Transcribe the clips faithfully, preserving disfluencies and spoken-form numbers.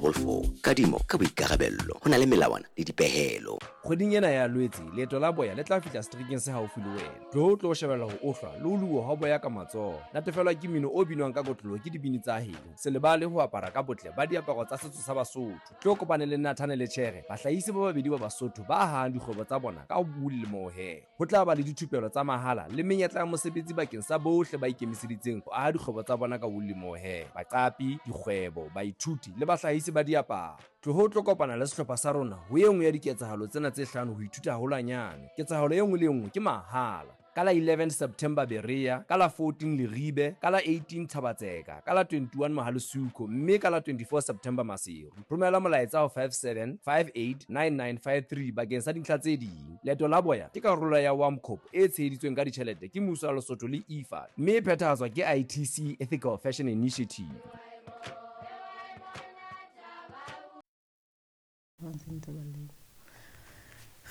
double four. Kadimo ka boikarabello ho na le melawana le dipehelo. Kgweding ena ya Lwetse, leeto la boya le tla fihla seterekeng se haufi le wena. Tlo tlo shebella ho ohlwa le ho luwa ha boya ka matsoho. Natefelwa ke mmino o binwang ka kotloloho ke dibini tsa heno. Se lebale ho apara ka botle ba diaparo tsa setso sa Basotho. Tlo kopane le Nathane le Tjhere, bahlahisi ba babedi ba Basotho ba hahang dikgwebo tsa bona ka wool le mohair. Ho tla ba le dithupelo tsa mahala le menyetla ya mosebetsi bakeng sa bohle ba ikemiseditseng ho aha dikgwebo tsa bona ka wool le mohair. Baqapi, dikgwebo, baithuti le bahlahisi ba diaparo. Tloho tlo kopana le sehlopha sa rona ho e nngwe ya diketsahalo tsena tse hlano ho ithuta haholwanyane. Ketsahalo e nngwe le e nngwe ke mahala. Ka la eleven September Berea, ka la fourteen Leribe, ka la eighteen Thabatseka, ka la twenty-one Mohalesuko, mme ka la twenty-four September Maseru. Romela molaetsa ho five seven five eight nine nine five three bakeng sa dintlha tse ding. Leeto la boya ke karolo ya WAMCOP e tsheheditsweng ka ditjhelete ke mmuso wa Lesotho le I F A, mme e phethahatswa ke I T C Ethical Fashion Initiative.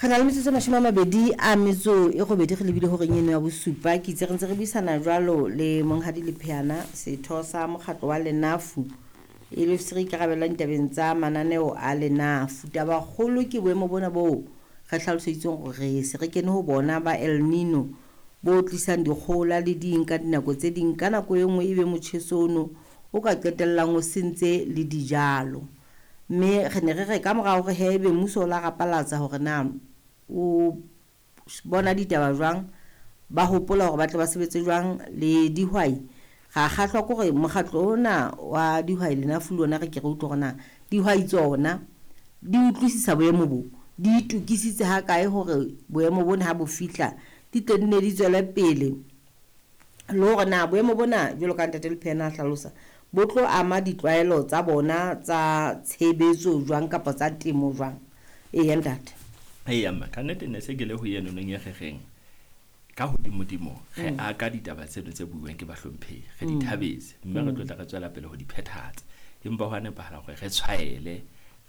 Re na le metsotso e mashome a mabedi a metso e robedi re lebile horeng eno ya bosupa. Ke itse re ntse re buisana jwalo le Monghadi Lepheana, setho sa mokgatlo wa Lenafu, e le se re ikarabellang ditabeng tsa mananeo a Lenafu. Tabakgolo ke boemo bona boo re hlaloseditsweng hore re se re kene ho bona ba El Nino bo tlisang dikgohola le ding ka dinako tse ding, ka nako e nngwe ebe motjheso ono o ka qetellang o sentse le dijalo. Mme re ne re re ka mora hore he ebe mmuso o la rapalatsa hore na o bona ditaba jwang, ba hopola hore ba tle ba sebetse jwang le dihwai. Ra kgahlwa ke hore mokgatlo ona wa dihwai Lenafu le ona re ke re utlwe hore na dihwai tsona di utlwisisa boemo bo, di itokisitse ha kae hore boemo bona ha bo fihla di tle di ne di tswele pele, le hore na boemo bona jwalo ka Ntate Lepheana a hlalosa bo tlo ama ditlwaelo tsa bona tsa tshebetso jwang kapa tsa temo jwang. Eya ntate. Eya mma, ka nnete ne se ke le ho eno nong e rereng ka hodimodimo re Mm. aka ditaba tseno tse buuweng ke bahlomphehi, re di Mm. thabetse mme re Mm. tlo tla re tswela pele ho di phethahatsa. Empa ho a nepahala hore re tshwaele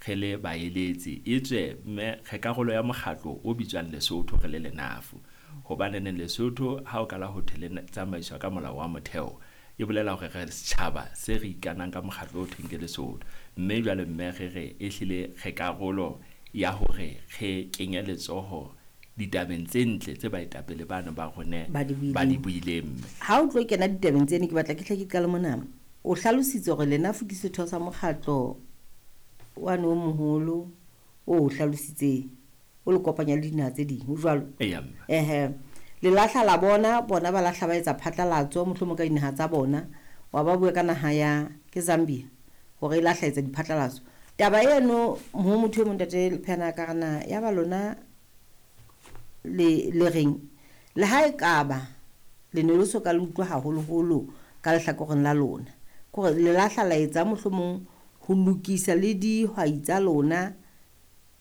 re le baeletsi, etswe mme re karolo ya mokgatlo o bitswang Lesotho re le Lenafu. Hobane neng Lesotho ha o kala ho thwe le tsamaiswa ka molao wa motheo, e bolela hore re setjhaba se re ikanang ka mokgatlo o thweng ke Lesotho. Mme jwale mme re re ehlile re karolo ya hore re kenye letsoho ditabeng tse ntle tse baetapele bano ba rona Ba di ba di buileng. buileng mme. Ha o tlo kena ditabeng tseno, ke batla ke hle ke qale mona. O hlalositse hore Lenafu ke setho sa mokgatlo wane o moholo o o hlalositseng, o le kopanya le dinaha tse ding, ho jwalo? Eya mme. Ehe. Le lahla la bona, bona ba lahla ba etsa phatlalatso mohlomong ka dinaha tsa bona, wa ba bua ka naha ya ke Zambia hore e lahla etsa diphatlalatso. Taba eno ho motho e mong Ntate Lepheana ka re na ya ba lona le le reng le ha e kaba le ne le so ka le utlwa haholoholo ka lehlakoreng la lona, ke hore le lahla la etsa mohlomong ho lokisa le dihwai tsa lona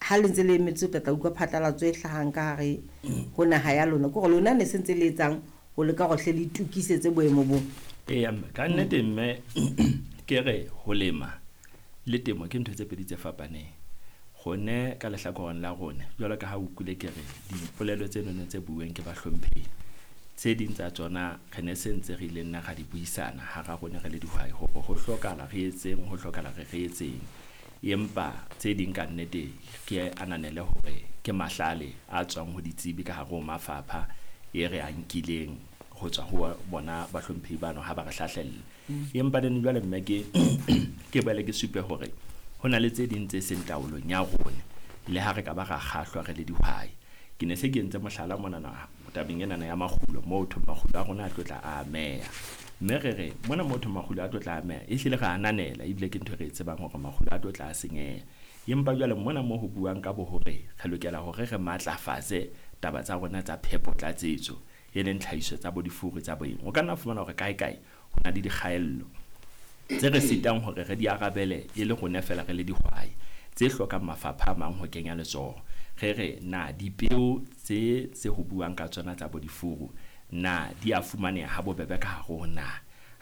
ha le ntse le emetse ho tla utlwa phatlalatso e hlahang ka hare ho naha ya lona, ke hore lona ne se ntse le etsang ho leka hore hle le itokisetse boemo bo. Eya mme, ka nnete mme ke re ho lema le temo ke ntho tse pedi tse fapaneng. Rone ka lehlakoreng la rona, jwalo ka ha o utlwile ke re dipolelo tse nonong tse buuweng ke bahlomphehi, tse ding tsa tsona re ne se ntse re ile nna ra di buisana hara rona re le dihwai hore ho hlokahala re etseng, ho hlokahala re re etseng. Empa tse ding ka nnete ke ananele hore ke mahlale a tswang ho ditsebi ka hare ho mafapha e re a nkileng ho tswa ho bona bahlomphehi bano ha ba re hlahlella. Mm. Empa neng jwale mme ke ke boele ke supe hore ho na le tse ding tse seng taolong ya rona le ha re ka ba ra kgahlwa re le dihwai. Ke ne se ke entse mohlala monana tabeng enana ya makgulo, moo thwe makgulo a rona a tlo tla a ameha. Mme re re mona moo thwe makgulo a tlo tla ameha, ehlile re ananela ebile ke ntho e re e tsebang hore makgulo a tlo tla a senyeha. Empa jwale mona moo ho buang ka bo hore re lokela hore re matlafatse taba tsa rona tsa phepo tlatsetso, e leng tlhahiso tsa bo difuru tsa boeng. O ka nna fumana hore kae kae ho na le dikgaello tse re sitang hore re di arabele e le rona feela re le dihwai, tse hlokang mafapha a mang ho kenya letsoho. Re re na dipeo tse tse ho buang ka tsona tsa bo difuru na di a fumaneha ha bobebe ka hare ho na?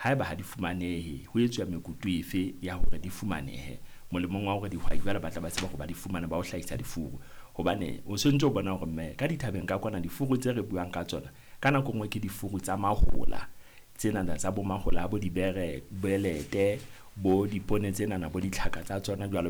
Haeba ha di fumanehe, ho etswa mekutu efe ya hore di fumanehe molemong wa hore dihwai jwale ba tla ba tseba hore ba di fumane ba ho hlahisa difuru? Hobane o se ntse o bona hore mme ka dithabeng ka kwana difuru tse re buang ka tsona ka nako nngwe ke difuru tsa mahola tsenana tsa bo mahola a bo dibere, belete, bo dipone tsenana, bo ditlhaka tsa tsona jwalo